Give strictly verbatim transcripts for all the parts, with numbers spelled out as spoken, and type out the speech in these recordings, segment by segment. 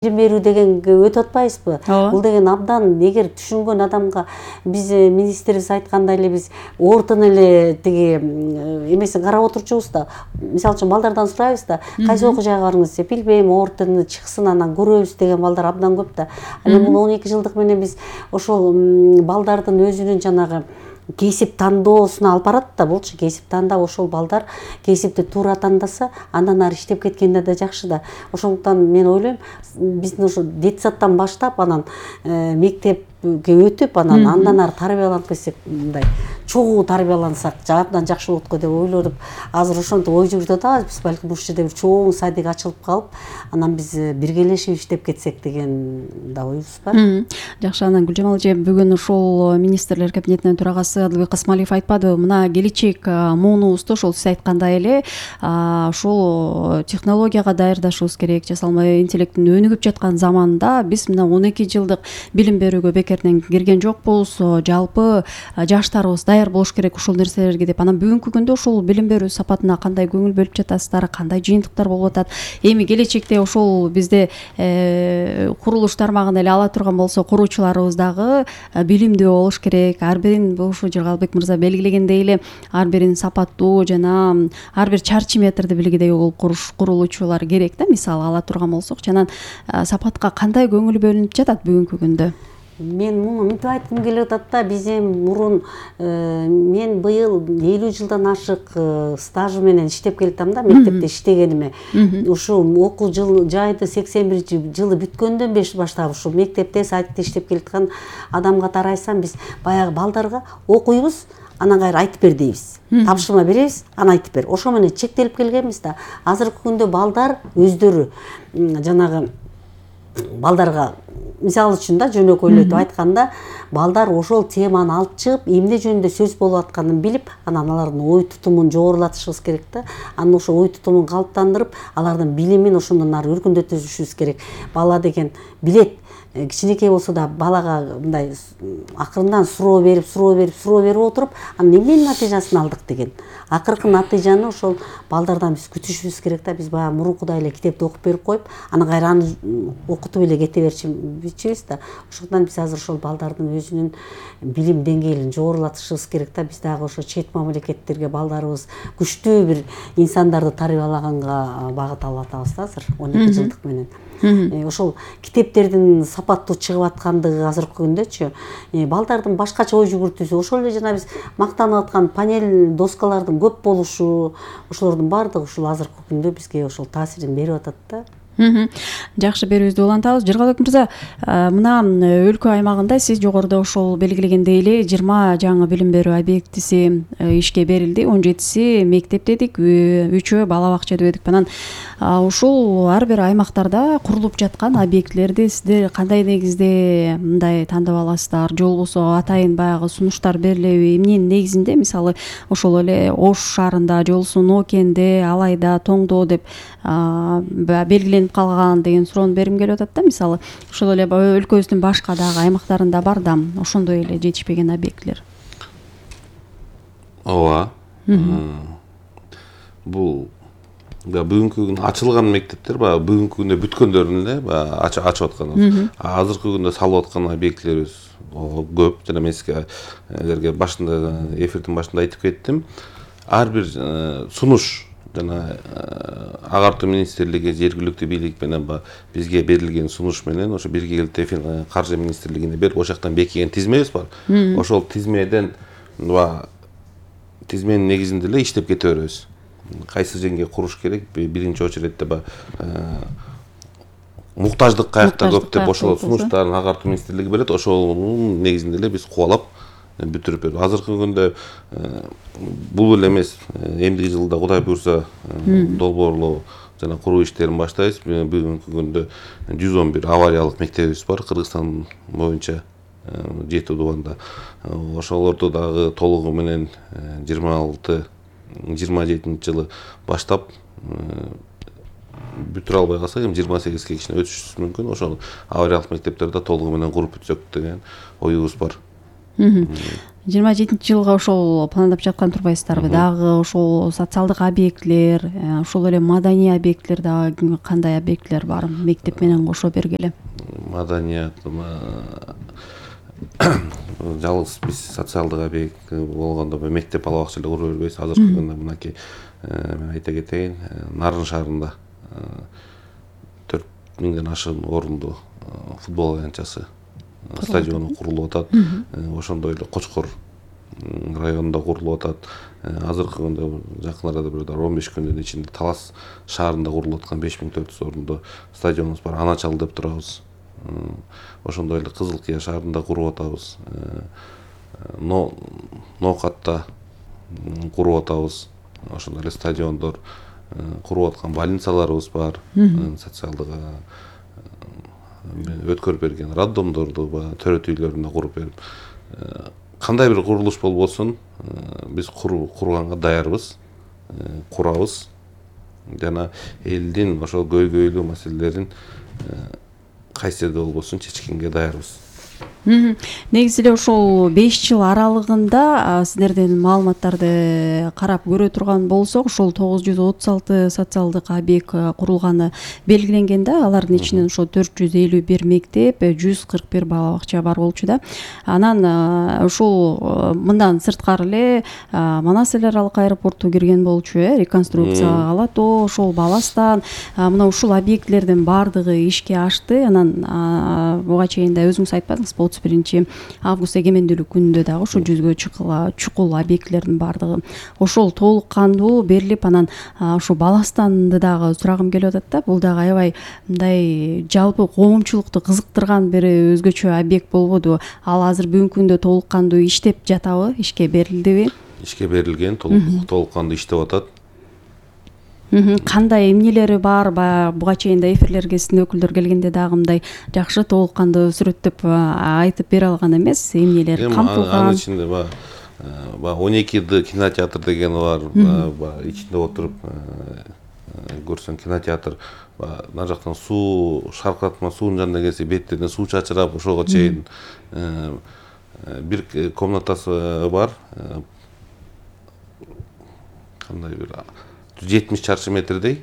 билим берүү дегенге өтүп атпайбызбы? Бул деген абдан эгер түшүнгөн адамга биз министрибиз айткандай эле биз ортун эле тиги эмесин карап отурчубуз да. Мисалы үчүн балдардан сурайбыз да, кайсы окуу жайга барыңыз деп, билбейм, ортуну чыксын анан көрөбүз деген балдар абдан көп да. Анан бул он эки жылдык менен биз ошол балдардын өзүнүн жанагы кесип тандоосуна алып барат да, болчу кесип тандап ошол балдар кесипти туура тандаса, андан ары иштеп кеткенде да жакшы да. Ошондуктан мен ойлойм, биздин ошо детсаддан баштап анан мектепке өтүп, анан андан ары тарбияланып кетсек, мындай чогуу тарбиялансак абдан жакшы болот го деп ойлоп, азыр ошентип ой жүгүртүп атабыз. Биз балким ушул жерде бир чоң садик ачылып калып, анан биз биргелешип иштеп кетсек деген да оюбуз бар. Жакшы, анан Гүлжамал эже, бүгүн ушул министрлер кабинетинин төрагасы Адылбек Касмалиев айтпадыбы, мына келечек муунубузду ошол сиз айткандай эле ушул технологияга даярдашыбыз керек. Жасалма интеллекттин өнүгүп жаткан заманда биз мына он эки жылдык билим берүүгө бекерден кирген жокпуз. Жалпы жаштарыбыз даяр болуш керек ушул нерселерге деп. Анан бүгүнкү күндө ушул билим берүү сапатына кандай көңүл бөлүп жатасыздар, кандай жыйынтыктар болуп атат? Эми келечекте ошол бизде курулуш тармагында эле ала турган болсо, куруучуларыбыз дагы билимдүү болуш керек. Ар бирин ушу Жыргалбек мырза белгилегендей эле ар бирин сапаттуу жана ар бир чарчы метрди билгидей болуп курулуучулар керек да, мисалы ала турган болсокчу. Анан сапатка кандай көңүл бөлүнүп жатат бүгүнкү күндө? Мен муну мынтип айткым келип атат да, биз эми мурун мен быйыл элүү жылдан ашык стажы менен иштеп келатам да, мектепте иштегениме. Ушул окуу жыл жайды сексен биринчи жылы бүткөндөн баштап ушул мектепте, садикте иштеп келаткан адамга тарайсам, биз баягы балдарга окуйбуз, анан кайра айтып бер дейбиз. Тапшырма беребиз, анан айтып бер. Ошо менен чектелип келгенбиз да. Азыркы күндө балдар өздөрү жанагы балдарга, мисалы үчүн да, жөнөкөйлөтүп айтканда, балдар ошол теманы алып чыгып, эмне жөнүндө сөз болуп атканын билип, анан алардын ой тутумун жогорулатышыбыз керек да. Анан ошо ой тутумун калыптандырып, алардын билимин ошондон ары өркүндөтүшүбүз керек. Бала деген билет. Кичинекей болсо да балага мындай акырындан суроо берип, суроо берип, суроо берип отуруп, анан эмненин натыйжасын алдык деген. Акыркы натыйжаны ошол балдардан биз күтүшүбүз керек да. Биз баягы мурункудай эле китепти окуп берип коюп, анан кайра аны окутуп эле кете берчүбүз да. Ошондуктан биз азыр ошол балдардын өзүнүн билим деңгээлин жогорулатышыбыз керек да. Биз дагы ошо чет мамлекеттерге балдарыбыз күчтүү бир инсандарды тарбиялаганга багыт алып атабыз да азыр он эки жылдык менен. Ошол китептердин сапаттуу чыгып аткандыгы азыркы күндөчү балдардын башкача ой жүгүртүүсү, ошол эле жана биз мактанып аткан панель доскалардын көп болушу, ошолордун баардыгы ушул азыркы күндө бизге ошол таасирин берип атат да. Жакшы, берүүбүздү улантабыз. Жыргалбек мырза, мына өлкө аймагында сиз жогоруда ошол белгилегендей эле жыйырма жаңы билим берүү объектиси ишке берилди. он жетиси мектеп дедик, үчөө бала бакча дедик. Анан ушул ар бир аймактарда курулуп жаткан объектилерди сиздер кандай негизде мындай тандап аласыздар? Же болбосо атайын баягы сунуштар берилеби? Эмненин негизинде, мисалы ошол эле Ош шаарында же болбосо Ноокенде, Алайда, Тоңдо деп белгиленип калган деген суроону бергим келип атат да. Мисалы ошол эле өлкөбүздүн башка дагы аймактарында бар да ошондой эле жетишпеген объектилер. Ооба. Бул бүгүнкү күндө ачылган мектептер баягы бүгүнкү күндө бүткөндөрүн эле баягы ачып аткан. Азыркы күндө салып аткан объектилерибиз көп. Жана мен сизге башында эфирдин башында айтып кеттим. Ар бир сунуш жана агартуу министрлиги, жергиликтүү бийлик менен бизге берилген сунуш менен ошо бирге келип каржы министрлигине берип, ошол жактан бекиген тизмебиз бар. Ошол тизмеден тизменин негизинде эле иштеп кете беребиз. Кайсы жерге куруш керек, биринчи очередте муктаждык каякта көп деп ошол сунуштарын агартуу министрлиги берет. Ошонун негизинде эле биз кубалап бүтүрүп берип. Азыркы күндө бул эле эмес, эмдиги жылда Кудай буйрса долбоорлоо жана куруу иштерин баштайбыз. Бүгүнкү күндө жүз он бир авариялык мектебибиз бар Кыргызстан боюнча жети дубанда. Ошолорду дагы толугу менен жыйырма алты жыйырма жетинчи жылы баштап бүтүрө албай калсак, эми жыйырма сегизге кичине өтүшүбүз мүмкүн. Ошол авариялык мектептерди толугу менен куруп бүтсөк деген оюбуз бар. жыйырма жетинчи жылга ошол пландап жаткан турбайсыздарбы? Дагы ошол социалдык объектилер, ошол эле маданий объектилер дагы кандай объектилер бар мектеп менен кошо бергиле? Маданият жалгыз биз социалдык объект болгондо мектеп бала бакча эле кура бербейбиз. Азыркы күндө мынакей мен айта кетейин, Нарын шаарында төрт миңден ашык орунду футбол аянтчасы стадиону курулуп атат. Ошондой эле Кочкор районунда курулуп атат. Азыркы күндө жакын арада бир он беш күндүн ичинде Талас шаарында курулуп аткан беш миң төрт жүз орунду стадионубуз бар. Ана чал деп турабыз. Ошондой эле Кызыл Кыя шаарында куруп атабыз. Ноокатта куруп атабыз. Ошондой эле стадиондор куруп аткан больницаларыбыз бар. Социалдык өткөрүп берген роддомдорду төрөт үйлөрүндө куруп берип, кандай бир курулуш болбосун биз курганга даярбыз, курабыз. Жана элдин ошол көйгөйлүү маселелерин кайсы жерде болбосун чечкенге даярбыз. Негизи эле ошол беш жыл аралыгында сиздердин маалыматтарды карап көрө турган болсок, ошол тогуз жүз отуз алты социалдык объект курулганы белгиленген да. Алардын ичинен ошо төрт жүз элүү бир мектеп, жүз кырк бир бала бакча бар болчу да. Анан ошол мындан сырткары эле Манас эл аралык аэропорту кирген болчу, э, реконструкция Алато, ошол Баластан, мына ушул объектлердин баардыгы ишке ашты. Анан буга чейин да өзүңүз айтпадыңыз, отуз биринчи август эгемендүүлүк күнүндө дагы ошо жүзгө чукул объектилердин баардыгы ошол толук кандуу берилип, анан ошо Баластанды дагы сурагым келип атат да. Бул дагы аябай мындай жалпы коомчулукту кызыктырган бир өзгөчө объект болбоду? Ал азыр бүгүнкү күндө толук кандуу иштеп жатабы? Ишке берилдиби? Ишке берилген, толук кандуу иштеп атат. Кандай эмнелери бар? Буга чейин да эфирлерге сиздин өкүлдөр келгенде дагы мындай жакшы толук кандуу сүрөттөп айтып бере алган эмес, эмнелер камтылган? Анын ичинде баягы он эки д кинотеатр деген бар. Ичинде отуруп көрсөң кинотеатр, мына жактан суу шаркыратма суунун жанына келсе беттерине суу чачырап, ошого чейин бир комнатасы бар. Кандай бир жетимиш чарчы метрдей.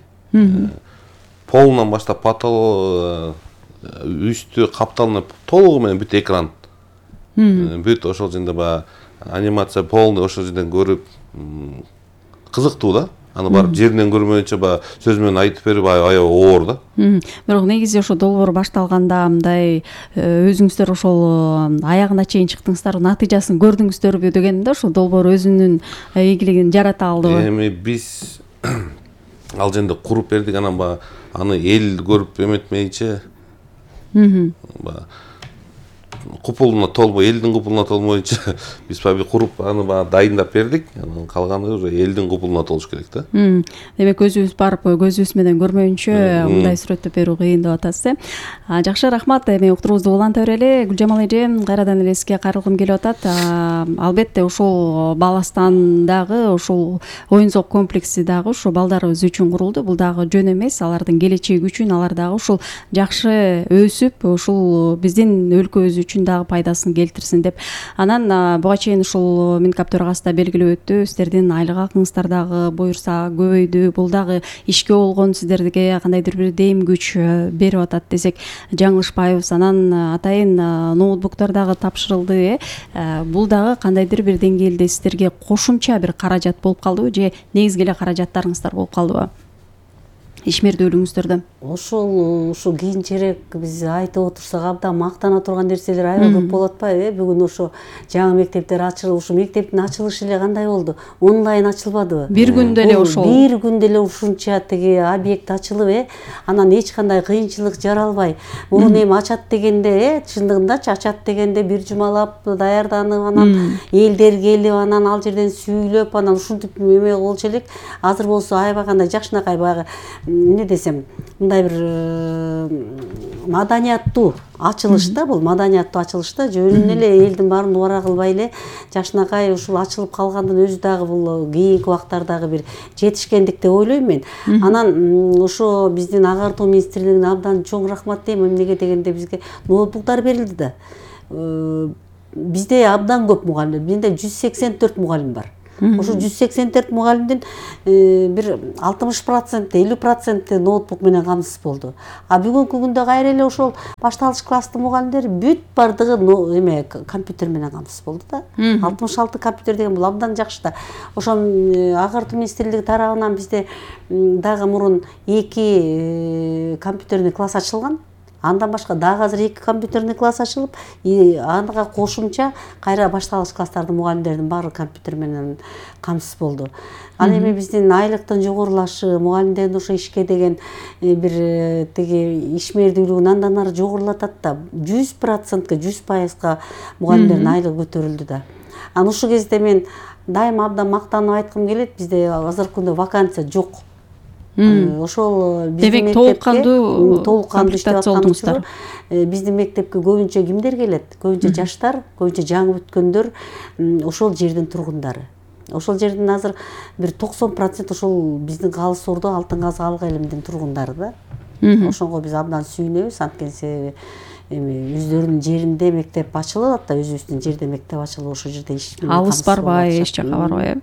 Полунан баштап потолок, үстү капталынып толугу менен бүт экран. Бүт ошол жерде баягы анимация полный ошол жерден көрүп кызыктуу да. Аны барып жеринен көрмөйүнчө баягы сөз менен айтып берип аябай оор да. Бирок негизи ошо долбоор башталганда мындай өзүңүздөр ошол аягына чейин чыктыңыздар, натыйжасын көрдүңүздөрбү деген да, ошол долбоор өзүнүн ийгилигин жарата алдыбы? Эми биз ал жерде куруп бердик, анан баягы аны эл көрүп эметмейинче баягы купулуна толбой, элдин купулуна толмоюнча биз баягы куруп аны баягы дайындап бердик. Анан калганы уже элдин купулуна толуш керек да. Демек өзүбүз барып көзүбүз менен көрмөйүнчө мындай сүрөттөп берүү кыйын деп атасыз, э? Жакшы, рахмат. Эми уктуруубузду уланта берели. Гүлжамал эже, кайрадан эле сизге кайрылгым келип атат. Албетте ошол Баластандагы ошол оюн зоок комплекси дагы ошо балдарыбыз үчүн курулду. Бул дагы жөн эмес, алардын келечеги үчүн, алар дагы ушул жакшы өсүп, ушул биздин өлкөбүз үчүн дагы пайдасын келтирсин деп. Анан буга чейин ушул Минкап төрагасы да белгилеп өттү, сиздердин айлык акыңыздар дагы буюрса көбөйдү. Бул дагы ишке болгон сиздерге кандайдыр бир дем күч берип атат десек жаңылышпайбыз. Анан атайын ноутбуктар дагы тапшырылды, э? Бул дагы кандайдыр бир деңгээлде сиздерге кошумча бир каражат болуп калдыбы же негизги эле каражаттарыңыздар болуп калдыбы ишмердүүлүгүңүздөрдө? Ошол ушу кийинчерээк биз айтып отурсак абдан мактана турган нерселер аябай көп болуп атпайбы, э? Бүгүн ошо жаңы мектептер ачылып, ушу мектептин ачылышы эле кандай болду? Онлайн ачылбадыбы? Бир күндө эле ошол. Бир күндө эле ушунча тиги объект ачылып, э? Анан эч кандай кыйынчылык жаралбай. Мурун эми ачат дегенде, э, чындыгындачы ачат дегенде бир жумалап даярданып, анан элдер келип, анан ал жерден сүйлөп, анан ушинтип эме болчу элек. Азыр болсо аябай кандай жакшынакай баягы эмне десем, мындай бир маданияттуу ачылышта, бул маданияттуу ачылышта жөнүнө эле элдин баарын убара кылбай эле жакшынакай ушул ачылып калгандын өзү дагы бул кийинки убактардагы бир жетишкендик деп ойлойм мен. Анан ошо биздин агартуу министрлигине абдан чоң рахмат дейм. Эмнеге дегенде бизге ноутбуктар берилди да. бизде абдан көп мугалим, менде жүз сексен төрт мугалим бар. Ошо жүз сексен төрт мугалимдин бир алтымыш процент элүү проценти ноутбук менен камсыз болду. А бүгүнкү күндө кайра эле ошол башталгыч класстын мугалимдери бүт бардыгы эме компьютер менен камсыз болду да. алтымыш алты компьютер деген бул абдан жакшы да. Ошон Агартуу министрлиги тарабынан бизде дагы мурун эки компьютерный класс ачылган. Андан башка дагы азыр эки компьютерный класс ачылып, ага кошумча кайра башталгыч класстардын мугалимдеринин баары компьютер менен камсыз болду. Ал эми биздин айлыктын жогорулашы, мугалимдердин ошо ишке деген бир тиги ишмердүүлүгүн андан ары жогорулатат да. жүз процентке жүз пайызга мугалимдердин айлыгы көтөрүлдү да. Анан ушул кезде мен дайыма абдан мактанып айткым келет, бизде азыркы күндө вакансия жок. Ошол демек толук кандуу толук кандуу иштеп атканыңыздар. Биздин мектепке көбүнчө кимдер келет? Көбүнчө жаштар, көбүнчө жаңы бүткөндөр, ошол жердин тургундары. Ошол жердин азыр бир токсон процент ошол биздин Калыс Ордо, Алтын Казык Алык элимдин тургундары да. Ошонго биз абдан сүйүнөбүз, анткени себеби эми өздөрүнүн жеринде мектеп ачылат да, өзүбүздүн жерде мектеп ачылып ошол жерде иш менен алыс барбай, эч жакка барбай.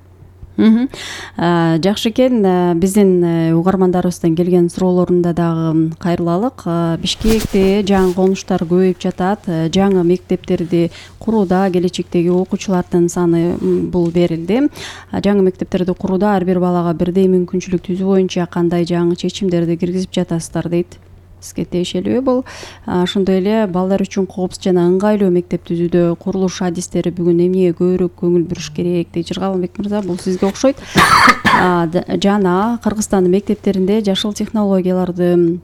Жакшы экен. Биздин угармандарыбыздан келген суроолорунда дагы кайрылалык. Бишкекте жаңы конуштар көбөйүп жатат. Жаңы мектептерди курууда келечектеги окуучулардын саны бул берилди. Жаңы мектептерди курууда ар бир балага бирдей мүмкүнчүлүк түзүү боюнча кандай жаңы чечимдерди киргизип жатасыздар дейт. Сизге тиешелүү бул. Ошондой эле балдар үчүн коопсуз жана ыңгайлуу мектеп түзүүдө курулуш адистери бүгүн эмнеге көбүрөөк көңүл буруш керек дейт. Жыргалбек мырза, бул сизге окшойт. Жана Кыргызстандын мектептеринде жашыл технологияларды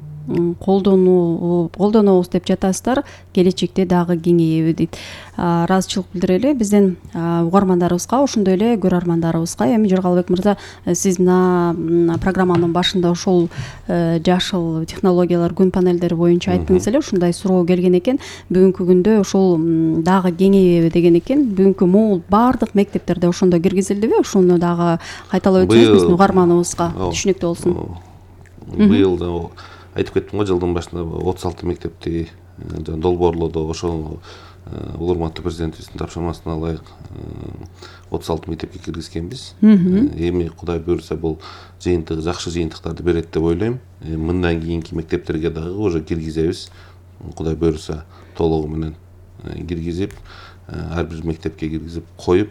колдонуу колдонобуз деп жатасыздар, келечекте дагы кеңейеби дейт. Ыраазычылык билдирели биздин угармандарыбызга, ошондой эле көрөрмандарыбызга. Эми Жыргалбек мырза, сиз мына программанын башында ошол жашыл технологиялар күн панелдери боюнча айттыңыз эле, ушундай суроо келген экен. Бүгүнкү күндө ошол дагы кеңейеби деген экен. Бүгүнкү могул баардык мектептерде ошондо киргизилдиби? Ошону дагы кайталап өтсөңүз биздин угарманыбызга түшүнүктүү болсун. Быйыл да айтып кеттим го, жылдын башында отуз алты мектепти долбоорлоодо, ошол урматтуу президентибиздин тапшырмасына ылайык отуз алты мектепке киргизгенбиз. Эми Кудай буйрса бул жыйынтык жакшы жыйынтыктарды берет деп ойлойм. Мындан кийинки мектептерге дагы уже киргизебиз. Кудай буйрса толугу менен киргизип, ар бир мектепке киргизип коюп,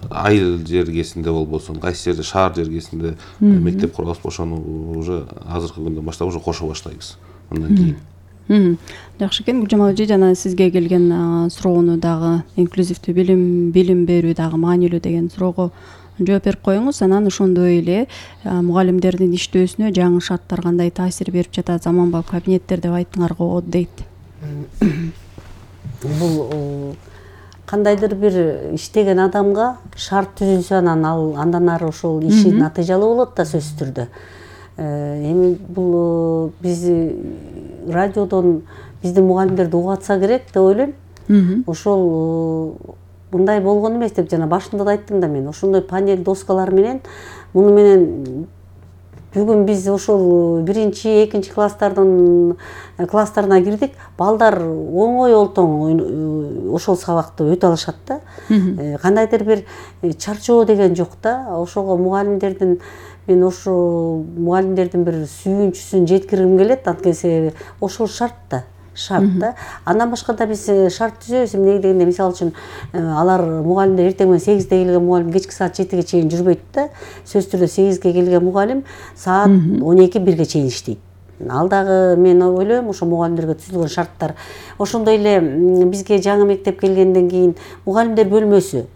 айыл жергесинде болбосун, кайсы жерде шаар жергесинде мектеп курабыз, ошону уже азыркы күндөн баштап уже кошо баштайбыз. Андан кийин. Жакшы экен. Гүлжамал эже, жана сизге келген суроону дагы инклюзивдүү билим билим берүү дагы маанилүү деген суроого жооп берип коюңуз. Анан ошондой эле мугалимдердин иштөөсүнө жаңы шарттар кандай таасир берип жатат, заманбап кабинеттер деп айттыңар го дейт. Бул кандайдыр бир иштеген адамга шарт түзүлсө, анан ал андан ары ошол иши натыйжалуу болот да, сөзсүз түрдө. Эми бул биз радиодон биздин мугалимдерди угатса керек деп ойлойм. Ошол мындай болгон эмес деп жана башында да айттым да мен. Ошондой панель доскалар менен, муну менен бүгүн биз ошол биринчи, экинчи класстардын класстарына кирдик. Балдар оңой олтоң ошол сабакты өтө алышат да. Кандайдыр бир чарчоо деген жок да. Ошого мугалимдердин мен ошо мугалимдердин бир сүйүнчүсүн жеткиргим келет, анткени себеби ошол шарт да. Шарт да. Андан башка да биз шарт түзөбүз. Эмне дегенде, мисалы үчүн алар мугалимдер эртең менен сегизде келген мугалим кечки саат жетиге чейин жүрбөйт да. Сөзсүз түрдө сегизге келген мугалим саат он эки бирге чейин иштейт. Ал дагы мен ойлойм ошо мугалимдерге түзүлгөн шарттар. Ошондой эле бизге жаңы мектеп келгенден кийин мугалимдер бөлмөсү.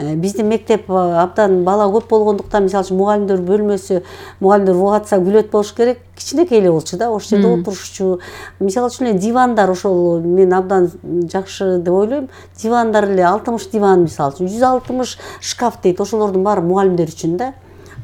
Биздин мектеп абдан бала көп болгондуктан, мисалы үчүн мугалимдер бөлмөсү, мугалимдер угатса күлөт болуш керек, кичинекей эле болчу да, ошол жерде отурушчу. Мисалы үчүн эле дивандар, ошол мен абдан жакшы деп ойлойм. Дивандар эле алтымыш диван, мисалы үчүн жүз алтымыш шкаф дейт, ошолордун баары мугалимдер үчүн да.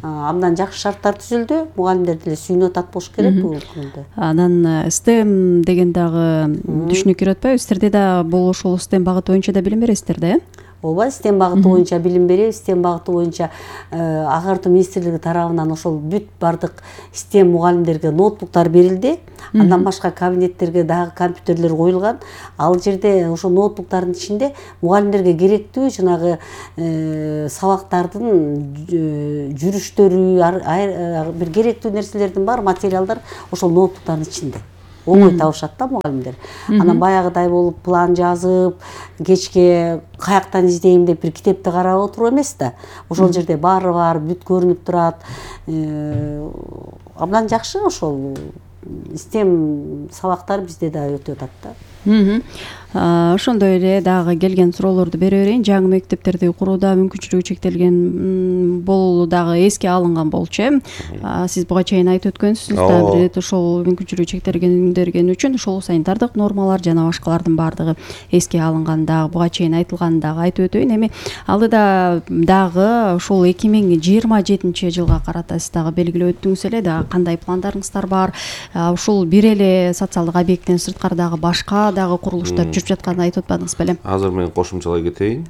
Абдан жакшы шарттар түзүлдү. Мугалимдер деле сүйүнүп атат болуш керек бул күндө. Анан STEM деген дагы түшүнүк кирип атпайбы? Сиздерде да бул ошол STEM багыты боюнча да билим бересиздер да, э? ооба STEM багыты боюнча билим беребиз. STEM багыты боюнча агартуу министрлиги тарабынан ошол бүт бардык STEM мугалимдерге ноутбуктар берилди. Андан башка кабинеттерге дагы компьютерлер коюлган. Ал жерде ошо ноутбуктардын ичинде мугалимдерге керектүү жанагы сабактардын жүрүштөрү, бир керектүү нерселердин бар материалдар ошол ноутбуктардын ичинде. Оңой табышат да мугалимдер. Анан баягыдай болуп план жазып, кечке каяктан издейм деп бир китепти карап отуруп эмес да. Ошол жерде баары бар, бүт көрүнүп турат. Абдан жакшы ошол STEM сабактар бизде да өтүп атат да. Ошондой эле дагы келген суроолорду бере берейин. Жаңы мектептерди курууда мүмкүнчүлүгү чектелген бул дагы эске алынган болчу. Сиз буга чейин айтып өткөнсүз да, бир ирет ошол мүмкүнчүлүгү чектелгендерген үчүн ошол санитардык нормалар жана башкалардын баардыгы эске алынган. Дагы буга чейин айтылганын дагы айтып өтөйүн. Эми алдыда дагы ошол эки миң жыйырма жетинчи жылга карата сиз дагы белгилеп өттүңүз эле, дагы кандай пландарыңыздар бар? Ушул бир эле социалдык объекттен сырткары дагы башка дагы курулуштар жүрүп жатканын айтып атпадыңыз белем? Азыр мен кошумчалай кетейин.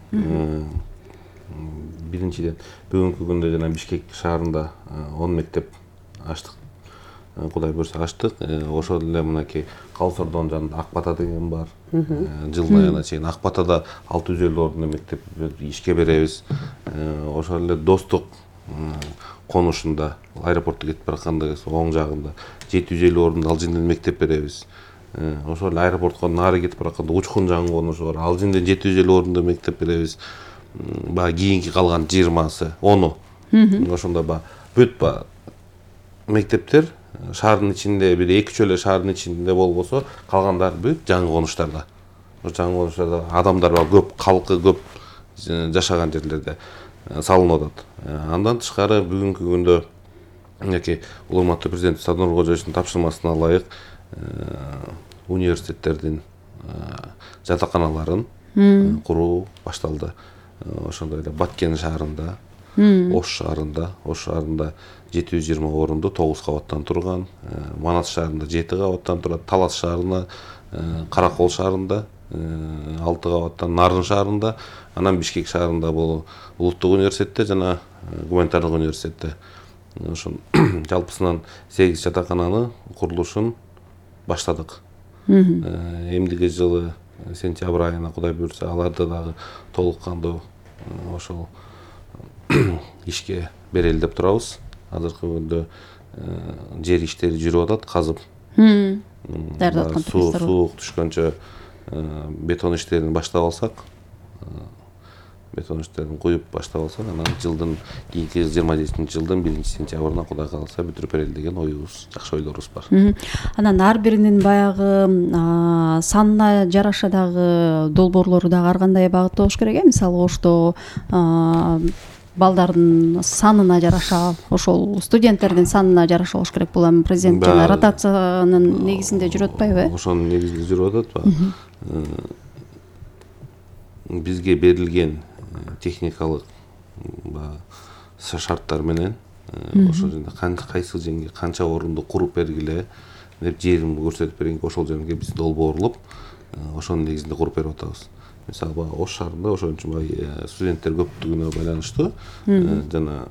Биринчиден, бүгүнкү күндө жана Бишкек шаарында он мектеп ачтык. Кудай буйрса ачтык. Ошол эле мынакей Калсордон жанында Ак Бата деген бар. Жылдын айына чейин Ак Батада алты жүз элүү ордундуу мектеп ишке беребиз. Ошол эле Достук конушунда аэропортто кетип баратканда оң жагында жети жүз элүү ордундуу ал жерден мектеп беребиз. Ошол эле аэропортко нары кетип баратканда Учкун жаңы конушу бар. Ал жерден жети жүз элүү ордундуу мектеп беребиз. Баягы кийинки калган жыйырмасы, onu. Ошондо баягы бүт баягы мектептер шаардын ичинде, бир эки үч эле шаардын ичинде болбосо, калгандары бүт жаңы конуштарда. Ошо жаңы конуштарда адамдар бар, көп, калкы көп жашаган жерлерде салынып атат. Андан тышкары бүгүнкү күндө мынакей урматтуу президент Садыр Кожоевичтин тапшырмасына ылайык университеттердин жатаканаларын куруу башталды. Ошондой эле Баткен шаарында, Ош шаарында, Ош шаарында жети жүз жыйырма орунду тогуз кабаттан турган, Манас шаарында жети кабаттан турат, Талас шаарында, Каракол шаарында алты кабаттан, Нарын шаарында, анан Бишкек шаарында бул Улуттук университетте жана Гуманитардык университетте. Ошон жалпысынан сегиз жатакананы курулушун баштадык. Эмдиги жылы сентябрь айына Кудай буйрса аларды дагы толук кандуу ошол ишке берели деп турабыз. Азыркы күндө жер иштери жүрүп атат, казып. Даярдап аткан. Суук түшкөнчө бетон иштерин баштап алсак, бетон иштерин куюп баштап алсак, анан жылдын кийинки жыйырма жетинчи жылдын биринчи сентябрына Кудай кааласа бүтүрүп берели деген оюбуз, жакшы ойлорубуз бар. Анан ар биринин баягы санына жараша дагы долбоорлору дагы ар кандай багытта болуш керек э? Мисалы Ошто балдардын санына жараша, ошол студенттердин санына жараша болуш керек. Бул эми президент жана ротациянын негизинде жүрүп атпайбы? Ошонун негизинде жүрүп атат. Бизге берилген техникалык шарттар менен ошол жерде кайсы жерге канча орунду куруп бергиле деп жерин көрсөтүп бергенге ошол жерге биз долбоорлоп ошонун негизинде куруп берип атабыз. Мисалы баягы Ош шаарында ошон үчүн баягы студенттер көптүгүнө байланыштуу жана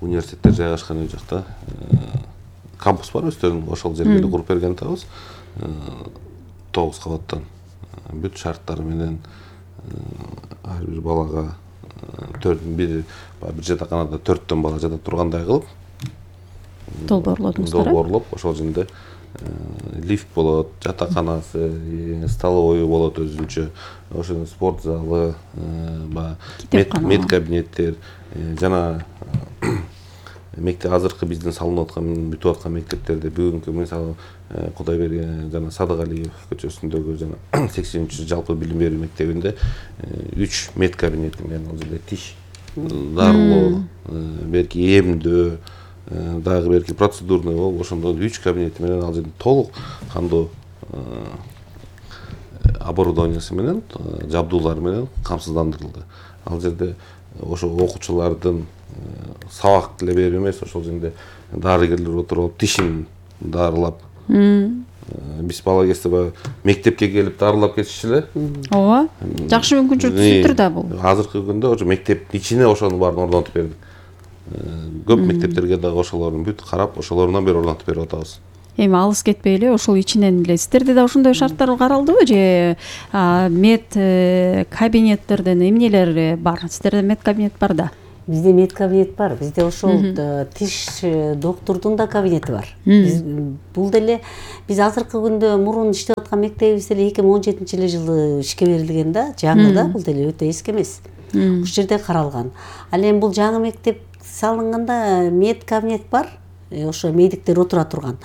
университеттер жайгашкан жакта кампус бар, өздөрүнүн ошол жерге эле куруп берген атабыз. тогуз кабаттан бүт шарттары менен ар бир балага төрт бир бир жатаканада төрттөн бала жата тургандай кылып долбоорлодуңуздар. Долбоорлоп ошол жерде лифт болот, жатаканасы, столовой болот өзүнчө, ошол спорт залы, мед кабинеттер жана мектеп азыркы биздин салынып аткан, бүтүп аткан мектептерде бүгүнкү мисалы Кудай берген жана Садыгалиев көчөсүндөгү жана сексенинчи жалпы билим берүү мектебинде үч мед кабинети менен ал жерде тиш дарылоо, берки эмдөө, дагы берки процедурный болуп, ошондо үч кабинети менен ал жерде толук кандуу оборудованиясы менен, жабдуулары менен камсыздандырылды. Ал жерде ошо окуучулардын сабак эле берүү эмес, ошол жерде дарыгерлер отуруп тишин дарылап, биз бала кезде баягы мектепке келип дарылап кетишчү эле. ооба, жакшы мүмкүнчүлүк түзүптүр да бул. Азыркы күндө ошо мектептин ичине ошонун баарын орнотуп бердик. Көп мектептерге дагы ошолордун бүт карап, ошолорунан бери орнотуп берип атабыз. Эми алыс кетпей эле ошол ичинен эле сиздерде да ошондой шарттар каралдыбы же мед кабинеттерден эмнелер бар? Сиздерде мед кабинет бар да? Бизде мед кабинет бар. Бизде ошол тиш доктурдун да кабинети бар. Бул деле биз азыркы күндө мурун иштеп аткан мектебибиз деле эки миң он жетинчи жылы ишке берилген да, жаңы да, бул деле өтө эски эмес. Ушул жерде каралган. Ал эми бул жаңы мектеп салынганда мед кабинет бар. Ошо медиктер отура турган.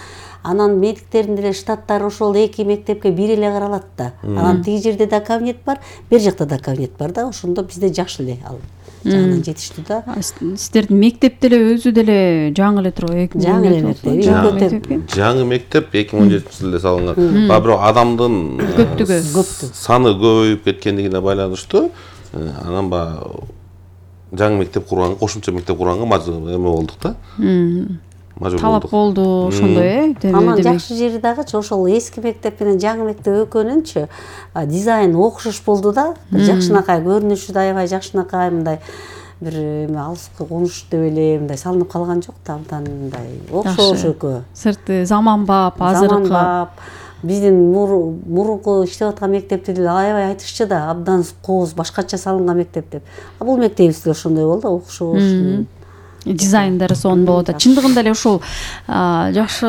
Анан медиктердин деле штаттары ошол эки мектепке бир эле каралат да. Анан тиги жерде да кабинет бар, бер жакта да кабинет бар да. Ошондо бизде жакшы эле ал жагынан жетиштүү да. Сиздердин мектеп деле өзү деле жаңы эле турбайбы? Жаңы эле мектеп. Жаңы мектеп эки миң он жетинчи жылы салынган. Бирок бирок адамдын көптүгү, саны көбөйүп кеткендигине байланыштуу анан баягы жаңы мектеп курганга, кошумча мектеп курганга мажбур эме болдук да. Талап болду ошондой, э? Анан жакшы жери дагычы ошол эски мектеп менен жаңы мектеп экөөнүнчү дизайн окшош болду да. Жакшынакай көрүнүшү да аябай жакшынакай, мындай бир эме алыскы конуш деп эле мындай салынып калган жок да, абдан мындай окшош экөө. Сырты заманбап, азыркы. Биздин мурунку иштеп аткан мектепти деле аябай айтышчу да, абдан кооз башкача салынган мектеп деп. А бул мектебибиз деле ошондой болду, окшош. Дизайндары сонун болот. Чындыгында эле ошол жакшы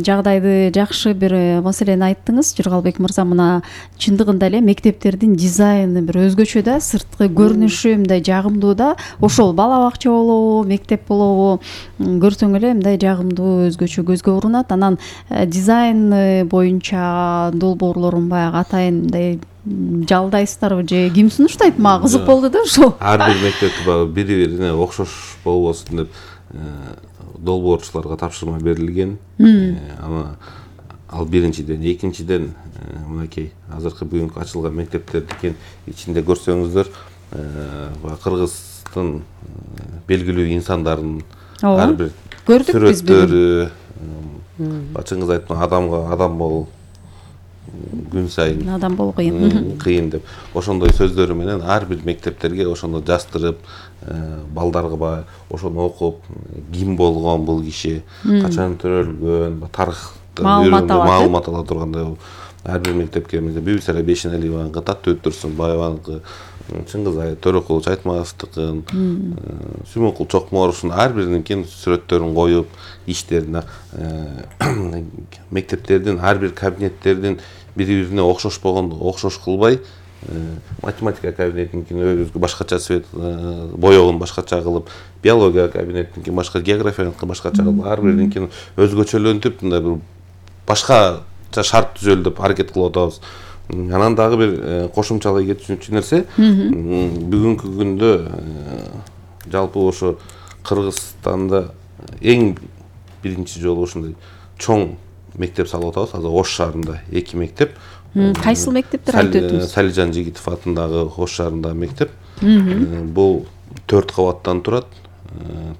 жагдайды, жакшы бир маселени айттыңыз, Жыргалбек мырза. Мына чындыгында эле мектептердин дизайны бир өзгөчө да, сырткы көрүнүшү мындай жагымдуу да. Ошол бала бакча болобу, мектеп болобу, көрсөң эле мындай жагымдуу, өзгөчө көзгө урунат. Анан дизайн боюнча долбоорлорун баягы атайын мындай жалдайсыздарбы же ким сунуштайт? Мага кызык болду да ошол. Ар бир мектепти баягы бири-бирине окшош болбосун деп долбоорчуларга тапшырма берилген. Ана ал биринчиден, экинчиден мынакей азыркы бүгүнкү ачылган мектептердин ичинде көрсөңүздөр, Кыргыздын белгилүү инсандарын ар бир сүрөттөрү, бачыңыз айткан адамга адам бол күн сайын адам бол кыйын кыйын деп ошондой сөздөрү менен ар бир мектептерге ошону жаздырып, балдарга баягы ошону окуп, ким болгон бул киши, качан төрөлгөн, тарыхтан маалымат ала тургандай ар бир мектепке Бибисара Бейшеналиеваныкы, Таттуу Өттүрсүн Баеваныкы, Чыңгызай Төрөкулович Айтматовдукун, Сүймөнкул Чокморовдун ар биринин сүрөттөрүн коюп, иштерине мектептердин ар бир кабинеттердин бири-бирине окшош болгон, окшош кылбай, математика кабинетинкин өзгө башкача цвет боёгун башкача кылып, биология кабинетинкин башка, географияныкы башкача кылып, ар биринин өзгөчөлөнтүп, мындай бир башкача шарт түзөлү деп аракет кылып атабыз. Анан дагы бир кошумчалай кетүүчү нерсе, бүгүнкү күндө жалпы ошо Кыргызстанда эң биринчи жолу ушундай чоң мектеп салып атабыз. Азыр Ош шаарында эки мектеп. Кайсыл мектептер айтып өтүңүз? Салижан Жигитов атындагы Ош шаарындагы мектеп. Бул төрт кабаттан турат.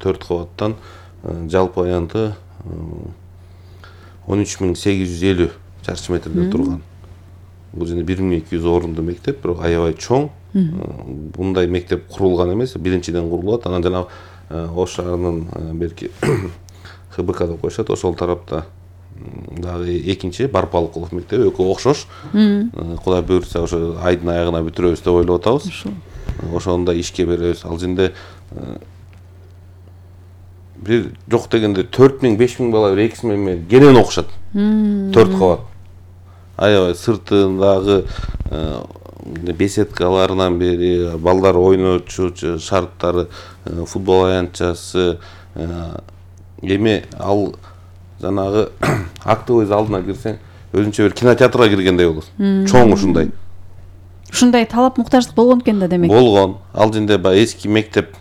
төрт кабаттан жалпы аянты он үч миң сегиз жүз элүү чарчы метрден турган. Бул жерде бир миң эки жүз орунду мектеп, бирок аябай чоң. Мындай мектеп курулган эмес, биринчиден курулат. Анан жана Ош шаарынын берки Х Б К деп коюшат, ошол тарапта дагы экинчи Барпалыкулов мектеби экөө окшош. Кудай буйрса ошо айдын аягына бүтүрөбүз деп ойлоп атабыз. Ошондо ишке беребиз. Ал жерде бир жок дегенде төрт миң беш миң бала бир экиси менен кенен окушат. төрт кабат. Аябай сыртындагы беседкаларынан бери балдар ойночу шарттары, футбол аянтчасы, эми ал жанагы актовый залына кирсең, өзүнчө бир кинотеатрга киргендей болот. Чоң ушундай. Ушундай талап муктаждык болгон экен да демек. Болгон. Ал жерде баягы эски мектеп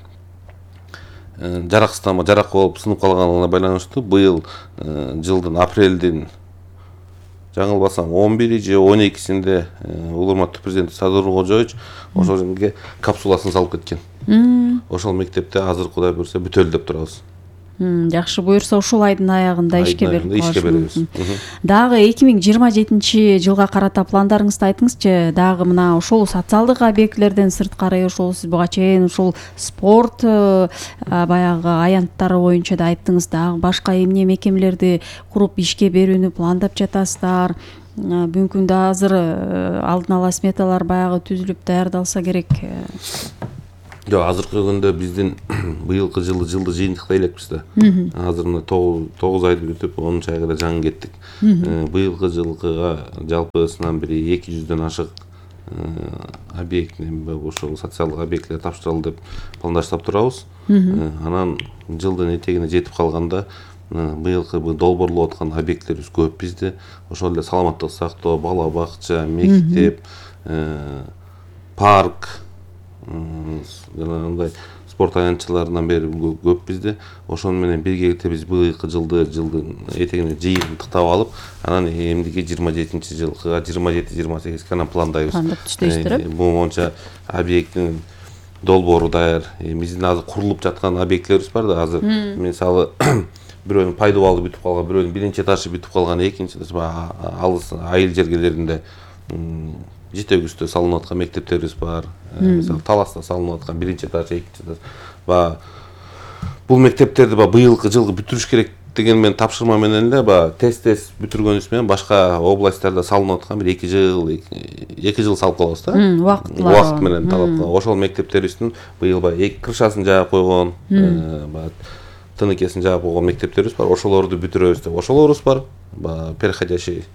жараксыздана, жарак болуп сынып калганына байланыштуу быйыл жылдын апрелдин жаңылбасам он бири же он экисинде улурматтуу президент Садыр Кожоевич ошол жерге капсуласын салып кеткен. Ошол мектепте азыр Кудай буйрса бүтөлүп деп турабыз. Жакшы буюрса ушул айдын аягында ишке берип ишке беребиз. Дагы эки миң жыйырма жетинчи жылга карата пландарыңызды айтыңызчы. Дагы мына ошол социалдык объектилерден сырткары ошол сиз буга чейин ушул спорт баягы аянттары боюнча да айттыңыз. Дагы башка эмне мекемелерди куруп ишке берүүнү пландап жатасыздар? Бүгүнкү күндө азыр алдын ала сметалар баягы түзүлүп даярдалса керек. Жок, азыркы күндө биздин быйылкы жылы жылды жыйынтыктай элекпиз да. Азыр мына тогуз айды бүтүп, онунчу айга да жаңы кеттик. Быйылкы жылкыга жалпысынан бери эки жүздөн ашык объект, ошол социалдык объектилер тапшырылды деп пландаштап турабыз. Анан жылдын этегине жетип калганда быйылкы долбоорлоп аткан объектилерибиз көп бизде. Ошол эле саламаттык сактоо, бала бакча, мектеп, парк, жанагындай спорт аянтчыларынан бери көп бизде. Ошону менен биргеликте биз быйылкы жылды жылдын этегине жыйынтыктап алып, анан эмдиги жыйырма жетинчи жылкыга жыйырма жети жыйырма сегизге анан пландайбыз. Пландап түздөйсүздөр э? Бул боюнча объекттин долбоору даяр. Биздин азыр курулуп жаткан объектилерибиз бар да. Азыр мисалы бирөөнүн пайдубалы бүтүп калган, бирөөнүн биринчи этажы бүтүп калган, экинчи алыс айыл жергелеринде жетегүстө салынып аткан мектептерибиз бар. Мисалы Таласта салынып аткан биринчи этаж, экинчи этаж. Ба бул мектептерди ба быйылкы жылы бүтүрүш керек деген мен тапшырма менен эле ба тез-тез бүтүргөнүбүз менен башка областтарда салынып аткан бир эки жыл эки жыл салып калабыз да. Убакыт менен талап. Ошол мектептерибиздин быйыл ба эки крышасын жаап койгон, ба тыныкесин жаап койгон мектептерибиз бар. Ошолорду бүтүрөбүз деп. Ошолорубуз бар. Ба переходящий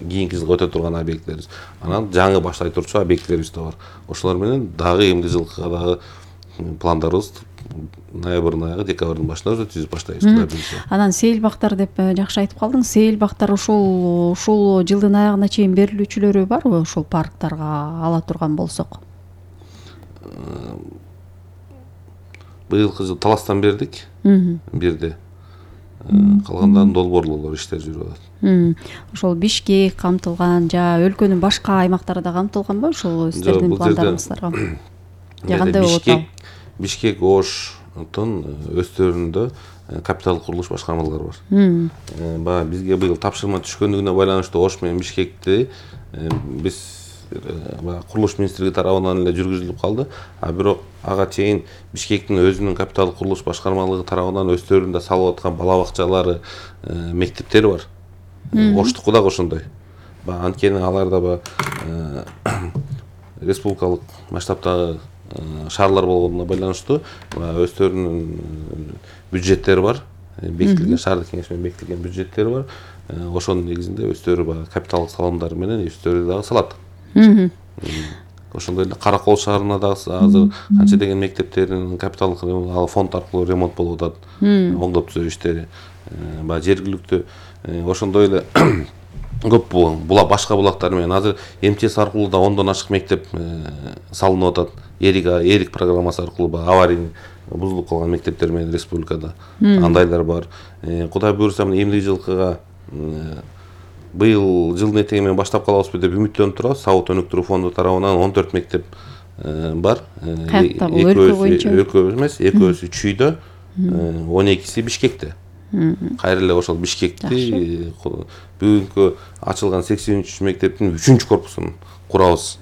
кийинки жылга өтө турган объектилерибиз. Анан жаңы башлай турчу объектилерибиз да бар. Ошолор менен дагы эмди жылкыга дагы пландарыбыз ноябрдын аягы, декабрдын башында уже түзүп баштайбыз. Анан сейил бактар деп жакшы айтып калдың. Сейил бактар ушул ушул жылдын аягына чейин берилүүчүлөрү барбы? Ошол парктарга ала турган болсок. Быйылкы жыл Таластан бердик. Бирде. Калгандарын долбоорлоолор иштер жүрүп атат. Ошол Бишкек камтылган, жа өлкөнүн башка аймактары да камтылганбы ошол сиздердин пландарыңыздарга? Кандай болот ал? Бишкек, Оштун өстөрүндө капиталдык курулуш башкармалары бар. Ба бизге быйыл тапшырма түшкөндүгүнө байланыштуу Ош менен Бишкекти биз курулуш министрлиги тарабынан эле жүргүзүлүп калды. А бирок ага чейин Бишкектин өзүнүн капиталдык курулуш башкармалыгы тарабынан өстөрүндө салып аткан бала бакчалары, мектептери бар. Оштуку дагы ошондой. Ба анткени аларда ба республикалык масштабтагы шаарлар болгонуна байланыштуу өздөрүнүн бюджеттери бар. Бекитилген шаардык кеңеш менен бекитилген бюджеттери бар. Ошонун негизинде өздөрү капиталдык салымдары менен өздөрү дагы салат. Ошондой эле Каракол шаарына дагы азыр канча деген мектептердин капиталдык фонд аркылуу ремонт болуп атат. Оңдоп түзөө иштери. Ба жергиликтүү ошондой эле көп була башка булактар менен азыр эм ти эс аркылуу да ондон ашык мектеп салынып атат. Эрик Эрик программасы аркылуу аварийный бузулуп калган мектептер менен республикада андайлар бар. Кудай буюрса эмдиги жылкыга быйыл жылдын этеги менен баштап калабызбы деп үмүттөнүп турабыз. Сабыт өнүктүрүү фонду тарабынан он төрт мектеп бар. Өлкө боюнча өлкө эмес, экөөсү Чүйдө, он экиси Бишкекте. Кайра эле ошол Бишкекти бүгүнкү ачылган сексен үч мектептин үчүнчү корпусун курабыз.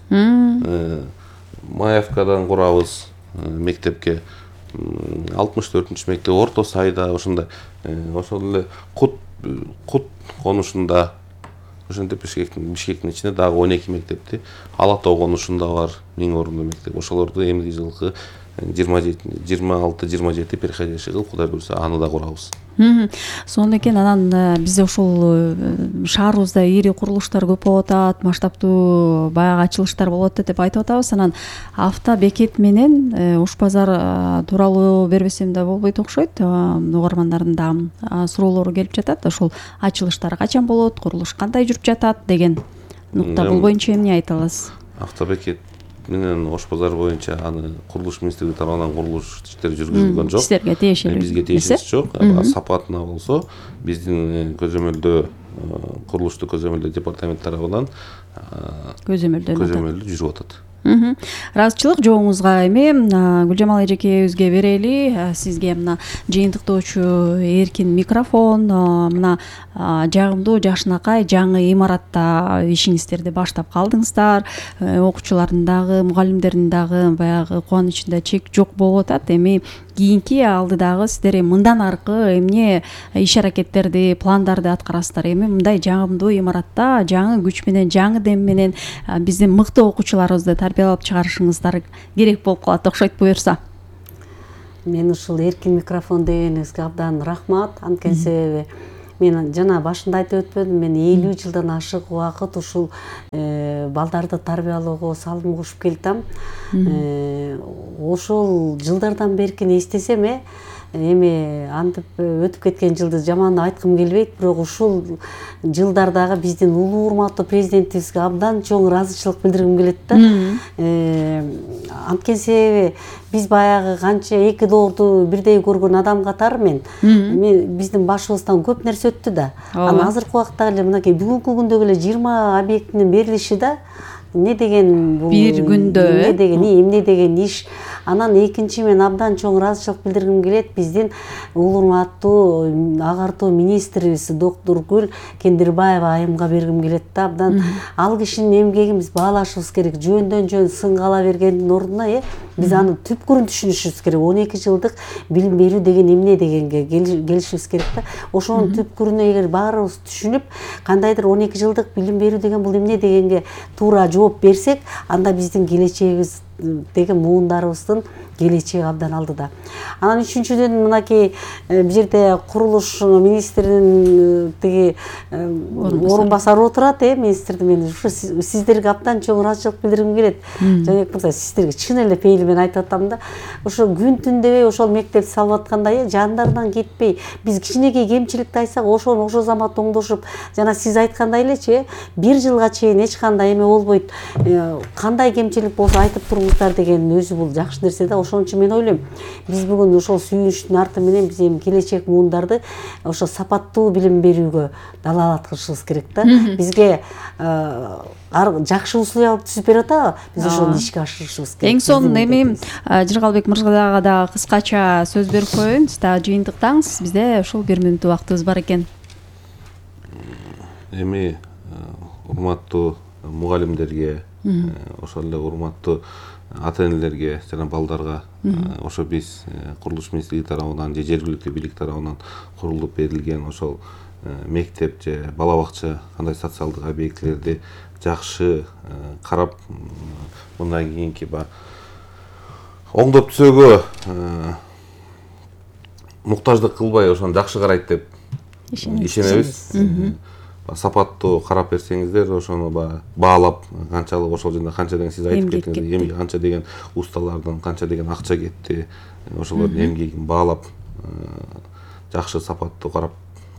Маевкадан курабыз мектепке. алтымыш төртүнчү мектеп Орто Сайда ошондой. Ошол эле Кут Кут конушунда ошентип Бишкектин Бишкектин ичинде дагы он эки мектепти, Ала Тоо конушунда бар миң орундуу мектеп. Ошолорду эмдиги жылкы жыйырма жети жыйырма алты жыйырма жети переходящий кылып Кудай буюрса аны да курабыз. Сонун экен. Анан бизде ошол шаарыбызда ири курулуштар көп болуп атат, масштабтуу баягы ачылыштар болуп атат деп айтып атабыз. Анан авто бекет менен Ош базар тууралуу бербесем да болбойт окшойт. Угармандардын да суроолору келип жатат. Ошол ачылыштар качан болот, курулуш кандай жүрүп жатат деген нукта. Бул боюнча эмне айта аласыз? Авто бекет менен Ош базар боюнча аны курулуш министрлиги тарабынан курулуш иштери жүргүзүлгөн жок. Сиздерге тиешелүү. Бизге тиешеси жок. Сапатына болсо биздин көзөмөлдөө курулушту көзөмөлдөө департамент тарабынан көзөмөлдөнүп көзөмөлдөө жүрүп атат. ыраазычылык жообуңузга эми Гүлжамал эжекебизге берели. Сизге мына жыйынтыктоочу эркин микрофон, мына жагымдуу жакшынакай жаңы имаратта ишиңиздерди баштап калдыңыздар. Окуучулардын дагы, мугалимдердин дагы баягы кубанычында чек жок болуп атат. Эми кийинки алдыдагы сиздер мындан аркы эмне иш аракеттерди, пландарды аткарасыздар? Эми мындай жагымдуу имаратта жаңы күч менен, жаңы дем менен биздин мыкты окуучуларыбызды тарбиялап чыгарышыңыздар керек болуп калат окшойт буюрса. Мен ушул эркин микрофон дегениңизге абдан рахмат. Анткени себеби мен жана башында айтып өтпөдүм, мен элүү жылдан ашык убакыт ушул балдарды тарбиялоого салым кошуп келатам. Ошол жылдардан беркин эстесем, э эми антип өтүп кеткен жылды жаман айткым келбейт, бирок ушул жылдардагы биздин улуу урматтуу президентибизге абдан чоң ыраазычылык билдиргим келет да. Анткени себеби биз баягы канча эки доорду бирдей көргөн адам катары мен мен биздин башыбыздан көп нерсе өттү да. Анан азыркы убакта эле мынакей бүгүнкү күндөгү эле жыйырма объектинин берилиши да эмне деген бул бир күндө эмне деген эмне деген иш. Анан экинчи мен абдан чоң ыраазычылык билдиргим келет биздин улуу урматтуу агартуу министрибиз доктор Гүл Кендирбаева айымга бергим келет да. Абдан ал кишинин эмгегин биз баалашыбыз керек. Жөндөн жөн сынгала бергендин ордуна э биз анын түпкүрүн түшүнүшүбүз керек. он эки жылдык билим берүү деген эмне дегенге келишибиз керек да. Ошонун түпкүрүнө эгер баарыбыз түшүнүп, кандайдыр он эки жылдык билим берүү деген бул эмне дегенге туура жооп берсек, анда биздин келечегибиз деген муундарыбыздын келечеги абдан алдыда. Анан үчүнчүдөн мынакей бул жерде курулуш министринин тиги орун басары отурат, э министрдин. Мен ушу сиздерге абдан чоң ыраазычылык билдиргим келет. Жанек мырза, сиздерге чын эле пейили менен айтып атам да. Ошо күн түн дебей ошол мектепти салып атканда, э жандарынан кетпей, биз кичинекей кемчиликти айтсак, ошону ошол замат оңдошуп, жана сиз айткандай элечи, э бир жылга чейин эч кандай эме болбойт. Кандай кемчилик болсо айтып туруңуздар деген өзү бул жакшы нерсе да. Ошон үчүн мен ойлойм, биз бүгүн ошол сүйүнүчтүн арты менен биз эми келечек муундарды ошо сапаттуу билим берүүгө далаалат кылышыбыз керек да. Бизге жакшы условия түзүп берип атабы, биз ошону ишке ашырышыбыз керек. Эң сонун эми Жыргалбек мырзага да кыскача сөз берип коеюн. Сиз да жыйынтыктаңыз. Бизде ушул бир мүнөт убактыбыз бар экен. Эми урматтуу мугалимдерге, ошол эле урматтуу ата-энелерге жана балдарга ошо биз курулуш министрлиги тарабынан же жергиликтүү бийлик тарабынан курулуп берилген ошол мектеп же бала бакча кандай социалдык объектилерди жакшы карап, мындан кийинки баягы оңдоп түзөөгө муктаждык кылбай ошону жакшы карайт деп ишенебиз. Сапаттуу карап берсеңиздер, ошону баалап, канчалык ошол жерде канча деген сиз айтып кеттиңиз, эмгек канча деген усталардын канча деген акча кетти, ошолордун эмгегин баалап, жакшы сапаттуу карап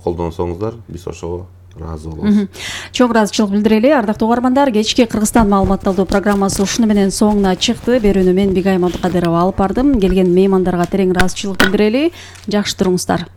колдонсоңуздар, биз ошого ыраазы болобуз. Чоң ыраазычылык билдирели. Ардактуу угармандар, кечки Кыргызстан маалыматталдоо программасы ушуну менен соңуна чыкты. Берүүнү мен Бигайым Абдыкадырова алып бардым. Келген меймандарга терең ыраазычылык билдирели. Жакшы туруңуздар.